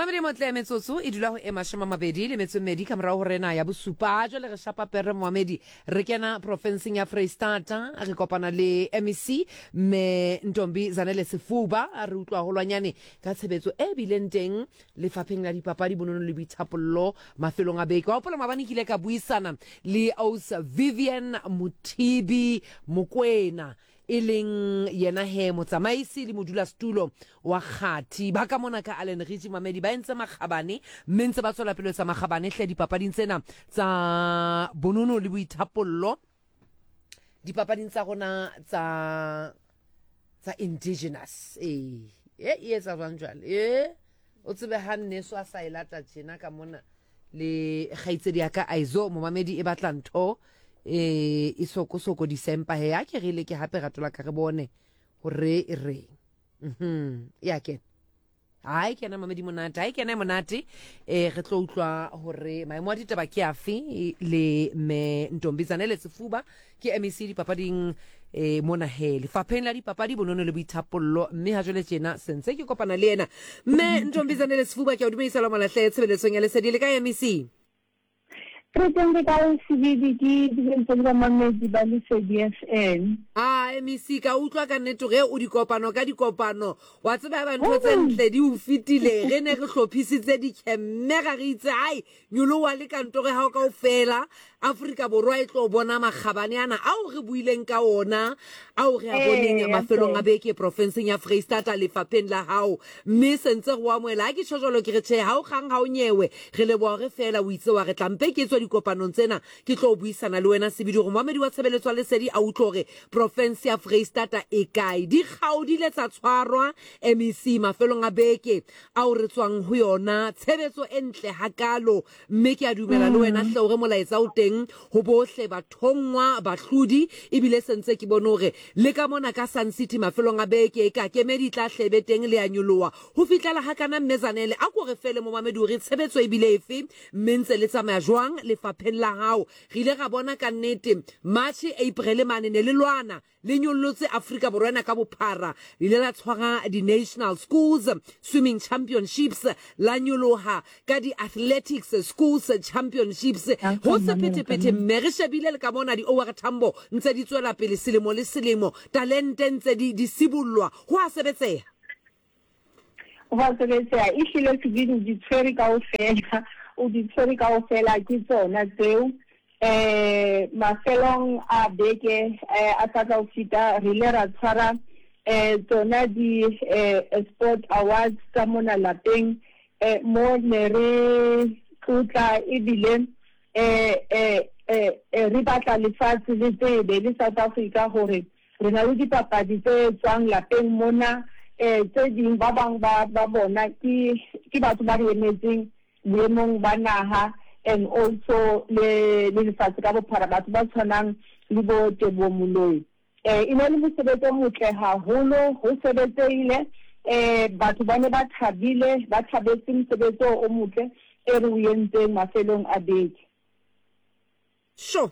Mamedi motle metsotso e dula ho e 28 ka morago go rena ya bosupa. Jwale re shapa pere moamedi re kena profenseng ya Freistata re kopana le MEC mme Ntombi Zanele Sefuba re utlwa holwanyane ka tshebetso e bileng teng lefapheng la dipapadi bonono le boithapollo mafelong a beke. Wa hopola maabane ke ile ka buisana le Aus Vivian Mothibi Mokwena e leng yena he motsamaisi le modulasetulo wa kgathi ba ka mona ka Allen Ritchie Mamedi ba entse makgabane mme ntse ba tswela pele etsa makgabane hle dipapading tsena tsa bonono le boithapollo dipapading tsa rona tsa tsa indigenous ee e e etsa jwang jwale e o tsebe ha nneso a sa e lata tjena ka mona le kgaitsedi ya ka aizo momamedi e batla ntho e e sokosokodisa empa he a ke re leke hape rato la ka re bone hore e reng mhm ya kena ha e kena mamedi monate ha e kena e monate eh re tlo utlwa hore maemo a ditaba ke afe le me Ntombi Zanele Sefuba ke MEC dipapading eh mona he lefapheng la dipapadi bonono le boithapollo mme ha jwale tjena sentse ke kopana le yena mme Ntombi Zanele Sefuba ke a o dumedisa la malahle tshebeletsong ya lesedi le ka MEC. Re teng re kae Sebidi ke dumedisa le bamamedi ba Lesedi FM. A MEC ka utlwa ka nnete ge o dikopano ka dikopano wa tseba ba ntho tse ntle di o fetile re ne re hlophisitse dikhemme ga re itse ai Nyoloha le kantoro ya gago kaofela. Afrika Borwa e tlo bona makgabane ana ao re buileng ka ona, ao re a boneng mafelong a beke profenseng ya Freistata lefapheng la gago. Mme se ntse re o amohela. Ha ke tjho jwalo ke re tjhe, ha o kgang ha o nyewe. Re leboha hore feela o itse wa re tla mpe ke tswe dikopanong tsena ke tlo buisana le wena sebidi hore moamedi wa tshebeletso ya lesedi a utlwe hore profense ya Freistata e kae. Dikgao di ile tsa tshwarwa MEC mafelong a beke ao re tswang ho yona. Tshebetso e ntle hakalo, mme ke a dumela le wena hle hore molaetsa o teng ho bohle bathonngwa, bahlodi, ebile se ntse ke bone hore le ka mona ka Sun City mafelong a beke eka kemedi e tla hle e be teng le a nyoloha ho fihlela hakana. Mme Zanele, a ko re fele momamedi hore tshebetso e bile efe mme ntse le tsamaya jwang lefapheng la hao. Re ile ra bona kannete March, April mane ne le lwana Le nyollotse Afrika Borwa ena ka bophara. Le ile la tshwara di-National Schools Swimming Championships, la nyoloha ka di-Athletics Schools Championships. Ho sephethephethe mme re shebile le ka mona di-OR Tambo ntse di tswela pele selemo le selemo, talente ntse di, di sibollwa. Ho a sebetseha. Ho a sebetseha. Ehlile sebini o di tshwere kaofela, o di tshwere kaofela ke tsona tseo. Eh mafelong a beke eh, a sa tla ho feta re ile ra tshwara eh tsona di eh, sport awards tsa mona lapeng eh mo ne re tlotla ebile eh eh eh re batla lefatshe le tsebe le South Africa hore Re na le dipapadi tse tswang lapeng mona, eh, tse ding ba bang ba, ba bona ke, ke batho ba re emetseng boemong ba naha and also le, le lefatshe ka bophara, batho ba tshwanang le bo Teboho Moloi. Eh, e ne le mosebetsi o motle haholo, ho sebetsehile, eh, batho ba ne ba thabile, ba thabetse mosebetsi oo o motle e re o entseng mafelong a beke. Sho!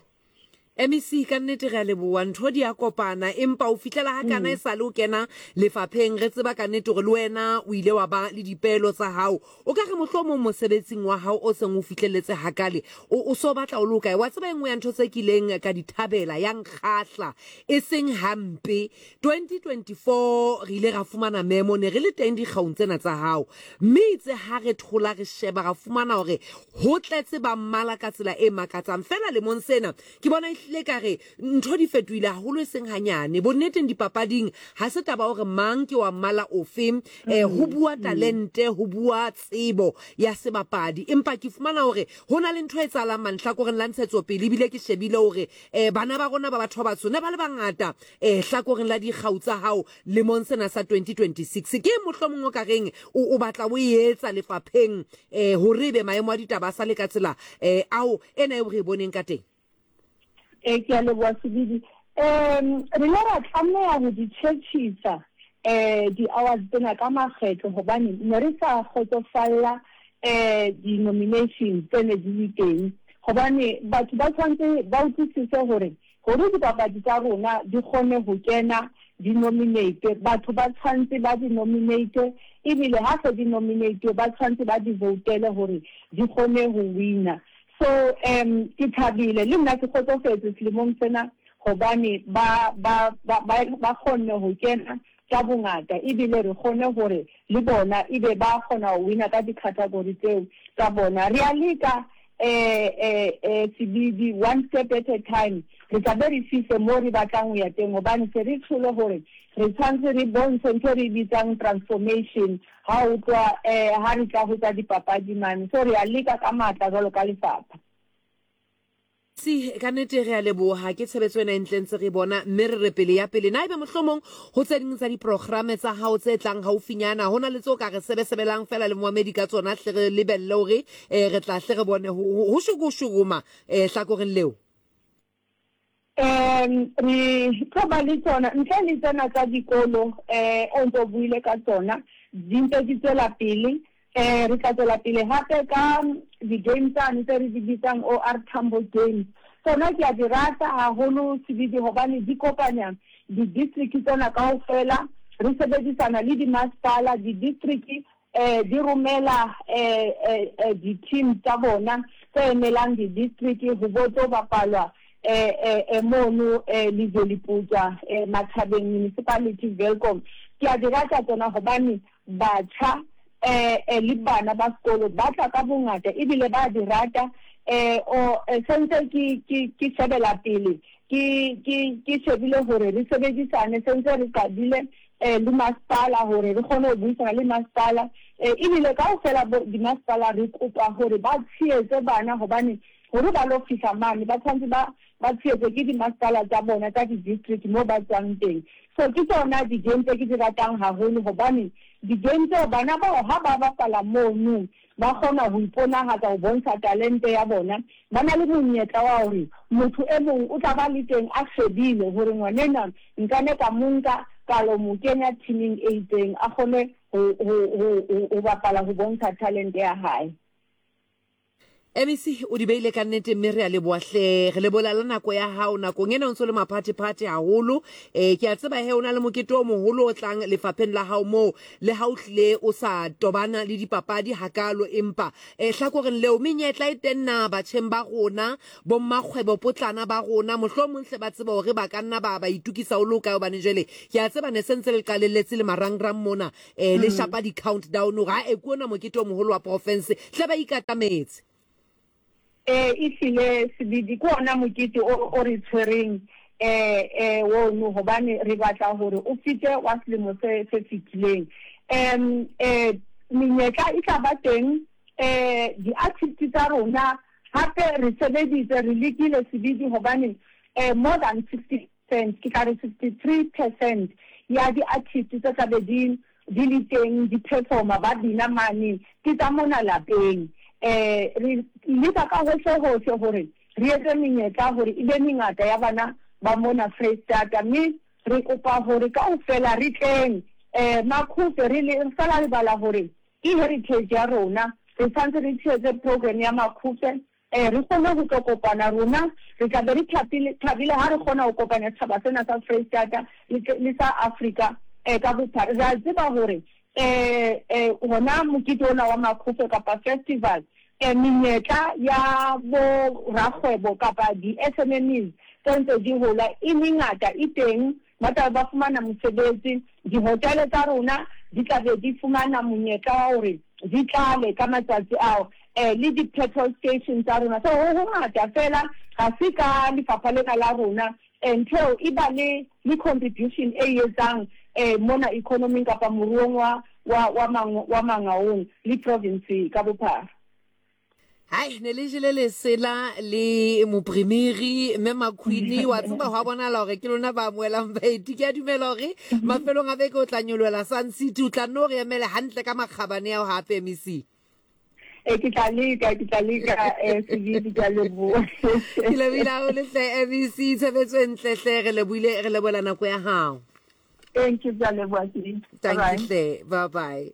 MEC, ka nnete re a leboha, ntho di a kopana, empa o fihlela ha kana e sale o kena lefapheng, re tseba ka nnete hore le wena o ile wa ba le dipeelo tsa hao. O ka re mohlomong mosebetsing wa hao o seng o fihlelletse hakale, o, o so batla o le hokae? Wa tseba e nngwe ya ntho tse kileng ka di thabela, ya nkgahla, e seng hampe, 2024 re ile ra fumana memo, ne re le teng dikgaung tsena tsa hao, mme itse ha re thola re sheba ra fumana hore ho tletse ba mmala ka tsela e makatsang. Feela lemong sena ke bona ehlile ka re ntho di fetohile haholo e seng hanyane. Bonneteng dipapading ha se taba hore mang ke wa mmala ofe, eh, ho bua talente, ho bua tsebo ya sebapadi, empa ke fumana hore ho na le ntho e etsahalang manhlakoreng la ntshetsopele, ebile ke shebile hore eh, bana ba rona ba batho ba batsho ne ba le bangata eh, hlakoreng la dikgau tsa hao lemong sena sa 2026. Ke eng mohlomong o ka reng o, o batla o e etsa lefapheng eh, hore ebe maemo a ditaba a sa le ka tsela eh, ao ena eo re e boneng ka teng? Eh, ke a leboha Sebidi. Um, re ile ra tlameha ho di tjhetjhisa um di-awards tsena ka makgetlo hobane ne re sa kgotsofalla um di-nomination tse ne di le teng, hobane batho ba tshwanetse ba utlwisise hore hore dipapadi tsa rona di kgone ho kena di nominate, batho ba tshwantse ba di nominate ebile ha se di nominate ba tshwantse ba di voutele hore di kgone ho wina. So um ke thabile le nna ke kgotsofetse selemong sena hobane ba ba ba ba kgonne ho kena ka bongata ebile re kgone hore le bona ebe ba kgona ho wina ka di-category tseo tsa bona. Re a leka eh eh eh Sebidi, one step at a time, re tla be re fihle mo re batlang ho ya teng hobane se re tsholo hore re tshwanetse re bontshe ntho e re e bitsang transformation ha o tloha eh ha re tla ho tsa dipapadi mane. So re a leka ka matla jwalo ka lefapha. Si, ka nnete re a leboha, ke tshebetso ena e ntle ntse re bona, mme re re pele ya pele. Na ebe mohlomong ho tse ding tsa diprograme tsa hao tse tlang haufinyana, ho na le tse o ka re sebesebelang feela le moamedi ka tsona, hle re lebelle hore eh, re tla hle re bone ho, ho, ho shoko-shokoma eh, hlakoreng leo? Um re tlo ba le tsona ntle le tsena tsa dikolo um o ntse o buile ka tsona di ntse di tswela pele. Um re tla tswela pele hape ka di-game tsane tse re di bitsang OR Tambo Games. Tsona ke a di rata haholo Sebidi hobane di kopanya di-district tsena kaofela. Re sebedisana le dimasepala, di-district um di romela um di-team tsa bona tse emelang di-district ho bo tlo bapalwa um mono um Lejweleputswa, um Mathabeng Municipality, Welkom. Ke a di rata tsona hobane Batjha le bana ba sekolo ba tla ka bongata ebile ba di rata. O sentse ke ke ke shebela pele ke ke ke shebile hore re sebedisane sentse re qadile le masepala hore re kgone ho buisana le masepala ebile kaofela bo dimasepala re kopa hore ba tshehetse bana hobane hore ba lo fihla mane ba tshwanetse ba ba tshehetswe ke dimasepala tsa bona tsa di-district moo ba tswang teng. So ke tsona di-game tse ke di ratang haholo hobane di-game tseo bana bao ha ba bapala mono ba kgona ho iponahatsa ho bontsha talente ya bona. Ba na le monyetla wa hore motho e mong o tla ba le teng a shebile hore ngwanenwa nka ne ka mo nka ka lo mo kenya team-ing e itseng a kgone ho bapala ho bontsha talente ya hae. MEC o di beile ka nnete mme re a leboa hle. Re lebola la nako ya hao nakong ena o ntse o le maphathephathe haholo. Eh ke a tseba he o na le mokete o moholo o tlang lefapheng la hao moo le ha o hlile o sa tobana le dipapadi hakaalo empa eh hlakoreng leo menyetla e teng na batjheng ba rona bommakgwebo potlana ba rona mohlomong hle ba tseba hore ba ka nna ba ba itukisa o le o kae hobane jwale ke a tseba ne se ntse le qalelletse le marangrang mona E, le shapa di-count down gore a e ke ona mokete o mogolo wa porofense tle ba ikatametse. E, ehlile Sebidi ke ona mokete o, o re tshwereng e, e, ono hobane re batla hore o fete wa selemo se, se fetileng. Um, e, menyetla e tla ba teng, e, di-artist tsa rona hape re sebeditse, re lekile Sebidi hobane e, more than 60 percent, ke tla re 63 percent ya di-artist tse tla be di di le teng di performa ba bina mane ke tsa mona lapeng. Um re leka ka hohle hohle hore re etse menyetla hore e be mengata ya bana ba mona Freistata, mme re kopa hore kaofela re tleng um Makhufe re le re sa lebala hore ke heritage ya rona, re tshwanetse re tshehetse program ya Makhufe. Ee, re kgone ho tlo kopana rona, re tla be re thapile, thabile ha re kgona ho kopanya setjhaba sena sa Freistata le, le sa Afrika eh, ka bophara. Re a tseba hore eh, eh, hona mokete ona wa Makhofe kapa festival, eh, menyetla ya bo rakgwebo kapa di-SMMEs tse ntse di hola e mengata e teng. Ba tla be ba fumana mosebetsi, dihotele tsa rona di tla be di fumana monyetla wa hore di tlale ka matsatsi ao, le di-petrol station tsa rona. So ho hongata feela, ha se ka lefapha lena la rona, ntho eo e ba le le contribution e etsang mona economy-ing kapa moruong wa wa wa wa Mangaung le province ka bophara. Hai, ne le jele lesela le moprimiri mme Makhwini wa tseba go a bonala gore ke lona ba amoelang baeti. Ke a dumela gore mafelong a beke o tla nyoloela Sun City, o tla nno re emele hantle ka makgabane ao gape MEC. E ke tla leka, ke tla leka eh Sebidi, ke a leboha. Ke lebohile haholo hle MEC, tshebetso e ntle hle, re lebohile, re lebohela nako ya gago. Thank you, ke a leboha Sebidi. Thank you hle, bye bye.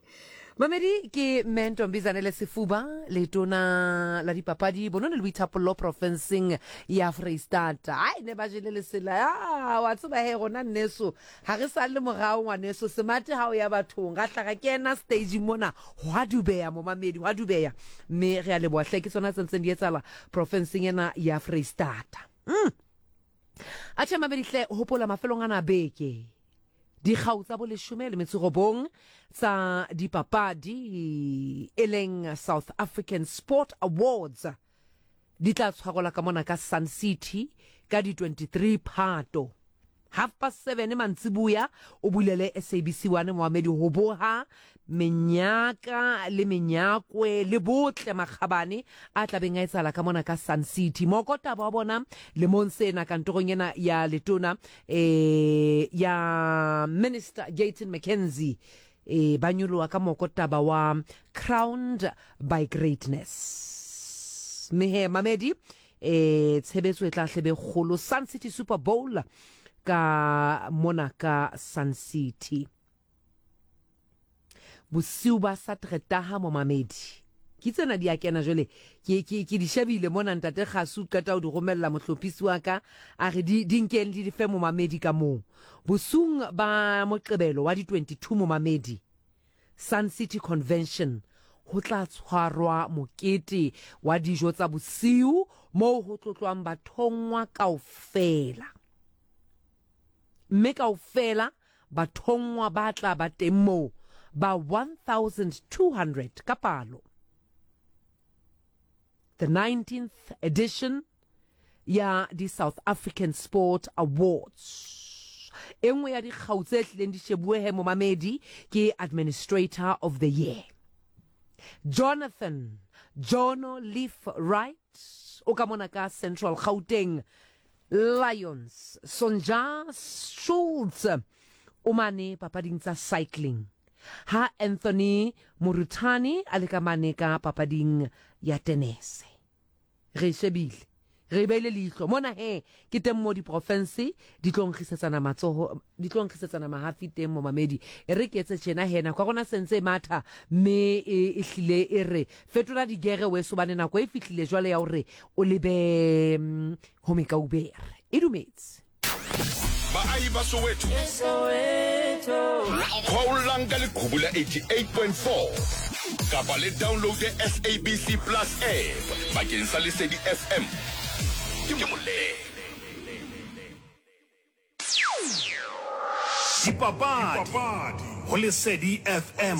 Mamedi ke Mme Ntombizanele Sefuba, letona la dipapadi, bonono le boithapollo profenseng ya Freistata. Ai ne ba jele lesela. Ah, wa tseba he rona nneso ha re sa le morao ngwaneso semate ha o ya bathong ra hla ra kena stage mona hwa dubeya momamedi hwa dubeya mme re a leboha hle ke tsona tse ntseng di etsahala profenseng ena ya Freistata. Atjhe mamedi hle hopola mafelong ana a beke dikgau tsa boleshome le metso robong tsa dipapadi e leng South African Sport Awards di tla tshwarelwa ka mona ka Sun City ka di 23 Phato 7:30 mantsibuya o bulele SABC 1 moamedi ho boha menyaka le menyakwe le botle makgabane a tlabeng a etsahala ka mona ka Sun City. Mokotaba wa bona lemong sena kantorong ena ya letona e ya Minister Gayton McKenzie e ba nyoloha ka mokotaba wa Crowned by Greatness. Mme he mamedi e tshebetso e tla hlebe kgolo Sun City Super Bowl ka mona ka Sun City. Bosiu ba Sateretaha momamedi. Ke tsena di a kena jwale ke ke ke di shebile mona ntate Kgasu qeta ho di romella mohlophisi wa ka a re di di nkeng di di fe momamedi ka moo. Bosiung ba Moqebelo wa di 22 momamedi Sun City Convention ho tla tshwarwa mokete wa dijo tsa bosiu moo ho tlotlwang bathonngwa kaofela. Mme kaofela bathonngwa ba tla ba teng moo ba 1,200 ka palo. The 19th edition ya di-South African Sport Awards. E nngwe ya dikgau tse hlileng di shebuwe he momamedi ke Administrator of the Year. Jonathan Jono Leaf Wright o ka mona ka Central Gauteng Lions Sonja Schultz o mane papading tsa cycling ha Anthony Moruthani a le ka mane ka papading ya tenese. Re e shebile, re e beile leihlo mona he ke teng mo diprofense di tlo nkgisetsana matsoho, di tlo nkgisetsana mahafi teng momamedi. E re ke etse tjena he nako ya rona sentse e matha mme e e hlile e re fetola digere weso bane nako e fihlile jwale ya hore o lebe mm, ho mekaubere. E dumetse. Baahi ba Soweto, kgwaollang ka leqhubu la 88.4 kapa le downloade SABC Plus app bakeng sa Lesedi FM. Ke molemo. Dipapadi ho Lesedi FM.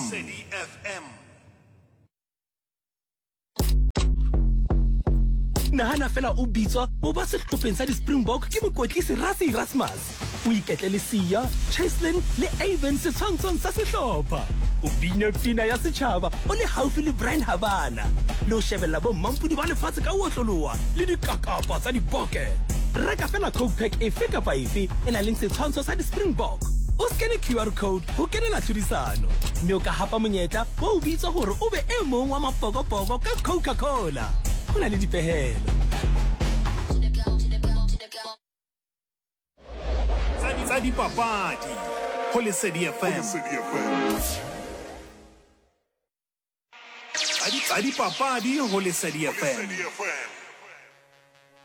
Nahana fela o bitswa o ba sehlopheng sa di-Springbok ke mokwetlisi Rassie Erasmus. O iketle le Siya, Cheslin le Aven setshwantshong sa sehlopha. O bine pina ya setjhaba o le haufi le Bryan Habana le ho shebella bommampodi ba lefatshe ka ho otloloha le dikakapa tsa diboke. Reka fela Coke Pack efe kapa efe e nang le setshwantsho sa di-Springbok. O skene QR code ho kenela tlhodisano mme o ka hapa monyetla wa ho bitswa hore o be e mong wa mapokopoko ka Coca-Cola. Ho na le dipehelo. Tsa dipapadi ho Lesedi FM. Tsa dipapadi ho Lesedi FM.